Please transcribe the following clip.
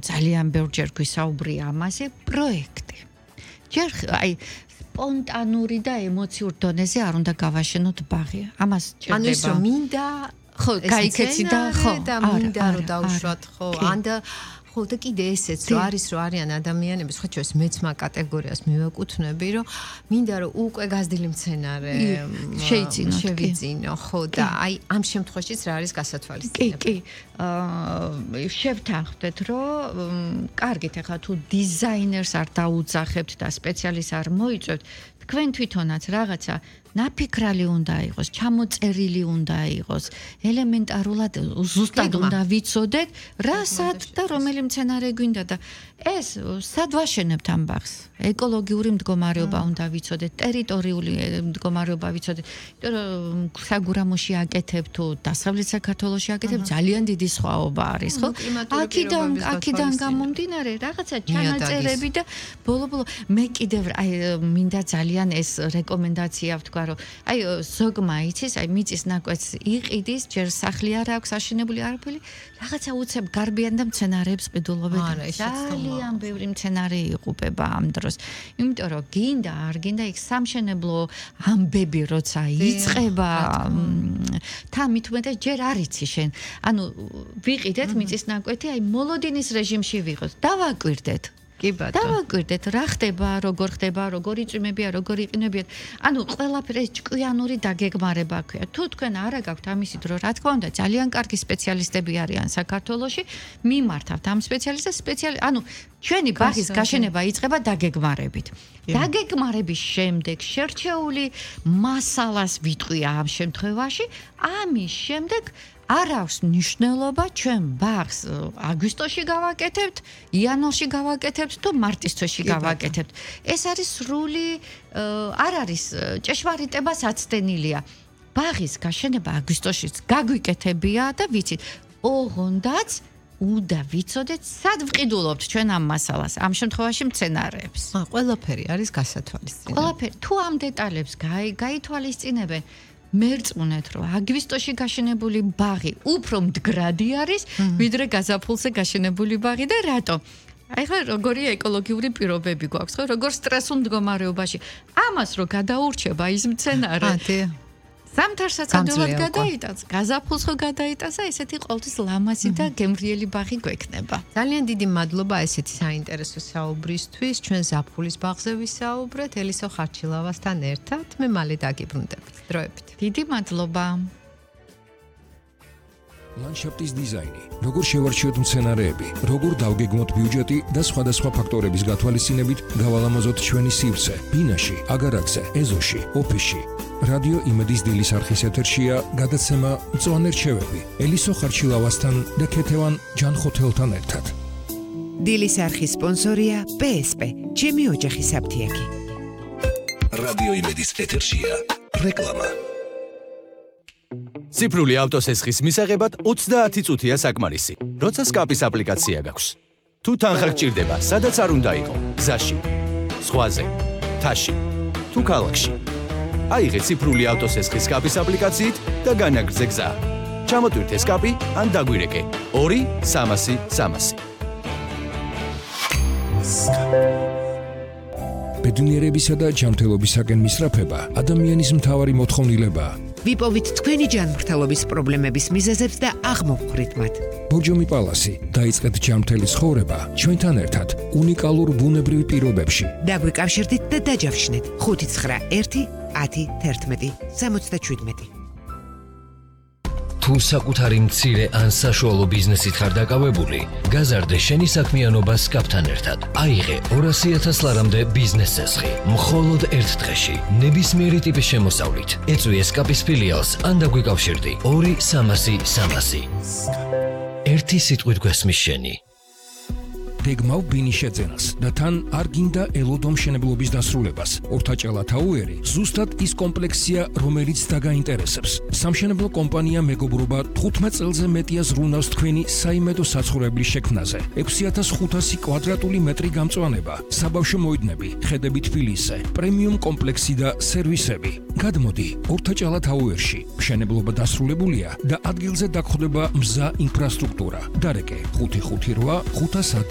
ძალიან ბევრჯერ გვისაუბრია ამაზე პროექტი. ჯერ აი სპონტანური და ემოციურ დონეზე არ უნდა გავაშენოთ ბაღი. ამას ჭირდება. ანუ ის რომ მინდა ხო, გაიქეცი და ხო, და მინდა რომ დავუშვათ ხო, ანდა ხო და კიდე ესეც რომ არის რომ არიან ადამიანები, სხვა ჩვენს მეც მაგ კატეგორიას მივაკუთვნები, რომ მინდა რომ უკვე გაზრდილი მცენარე შევიძინო, ხო და აი ამ შემთხვევაშიც რა არის გასათვალისწინებელი? კი, შევთანხმდეთ, რომ კარგით, ახლა თუ დიზაინერს არ დაუძახებთ და სპეციალისტს არ მოიწვევთ, თქვენ თვითონაც რაღაცა ნაფიქრალი უნდა იყოს, ჩამოწერილი უნდა იყოს, ელემენტარულად ზუსტად უნდა ვიცოდეთ, რასაც და რომელი მცენარე გვინდა და ეს სად ვაშენებთ ამ ბაღს? ეკოლოგიური მდგომარეობა უნდა ვიცოდეთ, ტერიტორიული მდგომარეობა ვიცოდეთ, იმიტომ რომ საგურამოში აკეთებთ თუ დასავლეთ საქართველოში აკეთებთ, ძალიან დიდი სხვაობა არის, ხო? აქედან გამომდინარე რაღაცა ჩანაწერები და ბოლო-ბოლო მე კიდევ აი მინდა ძალიან ეს რეკომენდაცია ვთქვა, რომ აი ზოგმა იცის, აი მიწის ნაკვეთს იყიდის, ჯერ სახლი არ აქვს აშენებული არაფერი, რაღაცა უცებ გარბიან და მცენარეებს ყიდულობენ. ძალიან ბევრი მცენარე იღუპება ამ დროს. იმიტომ რომ გინდა არ გინდა იქ სამშენებლო ამბები როცა იწყება, თამით უმეტეს ჯერ არ იცი შენ. ანუ ვიყიდეთ მიწის ნაკვეთი, აი მოლოდინის რეჟიმში ვიყოთ, დავაკვირდეთ. კი ბატონო. დავაკვირდეთ, რა ხდება, როგორ ხდება, როგორ იწვიმებია, როგორ იყინებიან. ანუ ყველაფერი ჭკვიანური დაგეგმარება ქვია. თუ თქვენ არა გაქვთ ამისი დრო, რა თქმა უნდა, ძალიან კარგი სპეციალისტები არიან საქართველოში, მიმართავთ ამ სპეციალისტებს, ანუ ჩვენი ბაღის გაშენება იწყება დაგეგმარებით. დაგეგმარების შემდეგ შერჩეული მასალას ვიტყვია ამ შემთხვევაში, ამის შემდეგ არ აქვს მნიშვნელობა ჩვენ ბაღს აგვისტოში გავაკეთებთ, იანვარში გავაკეთებთ თუ მარტის თვეში გავაკეთებთ. ეს არის სრული არ არის ჭეშმარიტებას აცდენილია. ბაღის გაშენება აგვისტოშიც გაგვიკეთებია და ვიცით, ოღონდაც უნდა ვიცოდეთ, სად ვყიდულობთ ჩვენ ამ მასალას, ამ შემთხვევაში მცენარეებს. ყველაფერი არის გასათვალისწინებელი. ყველაფერი, თუ ამ დეტალებს გაითვალისწინებენ, მერწმუნეთ, რომ აგვისტოში გაშენებული ბაღი უფრო მდგრადი არის, ვიდრე გაზაფხულზე გაშენებული ბაღი და რატომ? აი ხა როგორი ეკოლოგიური პირობები გვაქვს, ხო? როგორ სტრესულ მდგომარეობაში. ამას რო გადაურჩება ის მცენარე. ზამთარსაც ადვილად გადაიტანს, გაზაფხულს ხო გადაიტანს, ესეთი ყოველთვის ლამაზი და გემრიელი ბაღი გვექნება. ძალიან დიდი მადლობა ესეთი საინტერესო საუბრისთვის. ჩვენ ზაფხულის ბაღზე ვისაუბრეთ ელისო ხარჩილავასთან ერთად. მე მალე დაგიბრუნდებით. დროებით. დიდი მადლობა. ლანდშაფტის დიზაინი, როგორ შევარჩიოთ მცენარეები, როგორ დავგეგმოთ ბიუჯეტი და სხვადასხვა ფაქტორების გათვალისწინებით გავალამაზოთ ჩვენი სივრცე, ბინაში, აგარაკზე, ეზოში, ოფისში. რადიო იმედის დილის არხის ეთერშია გადაცემა მწვანე რჩევები ელისო ხარჩილავასთან და ქეთევან ჯანხოთელთან ერთად. დილის არხის სპონსორია PSP, ჩემი ოჯახის აფთიაქი. რადიო იმედის ეთერშია რეკლამა. ციფრული ავტოსესხის მისაღებად 30 წუთია საკმარისი. როცა სკაპის აპლიკაცია გაქვს. თუ თანხა გჭირდება, სადაც არ უნდა იყო, გზაში, ზღვაზე, მთაში, თუ ქალაქში. აიღე ციფრული ავტოსესხის სკაპის აპლიკაციით და განაგრძე გზა. ჩამოტვირთე სკაპი ან დაგვირეკე 2-300-300. ბედნიერებისა და ჯანმრთელობისაკენ მისწრაფება ადამიანის მთავარი მოთხოვნილებაა. ვიპოვით თქვენი ჯანმრთელობის პრობლემების მიზეზებს და აღმოვხვრით მათ. ბორჯომი პალასი, დაიწყეთ ჯანმრთელი ცხოვრება ჩვენთან ერთად უნიკალურ ბუნებრივ პირობებში. დაგვიკავშირდით და დაჯავშნეთ 591-10-11-77. თუ საკუთარი მცირე ან საშუალო ბიზნესით ხარ დაკავებული, გაზარდე შენი საქმიანობა სკაპთან ერთად. აიღე 200,000 ლარამდე ბიზნეს წესხი. მხოლოდ ერთ დღეში, ნებისმიერი ტიპის შემოსავლით. ეწვიე სკაპის ფილიალს ან დაგვიკავშირდი 2-300-300. ერთი სიტყვით გვესმის შენი. გეგმავ ბინის შეძენას და თან არ გინდა ელოდო მშენებლობის დასრულებას. ორთაჭალა თაუერი ზუსტად ის კომპლექსია, რომელიც დაგაინტერესებს. სამშენებლო კომპანია მეგობრობა 15 წელზე მეტია ზრუნავს თქვენი საიმედო საცხოვრებლის შექმნაზე. 6500 კვადრატული მეტრი გამწვანება, საბავშვო მოედნები, ხედები თბილისზე, პრემიუმ კომპლექსი და სერვისები. გადმოდი ორთაჭალა თაუერში. მშენებლობა დასრულებულია და ადგილზე დაგხვდება მზა ინფრასტრუქტურა. დარეკე 558 510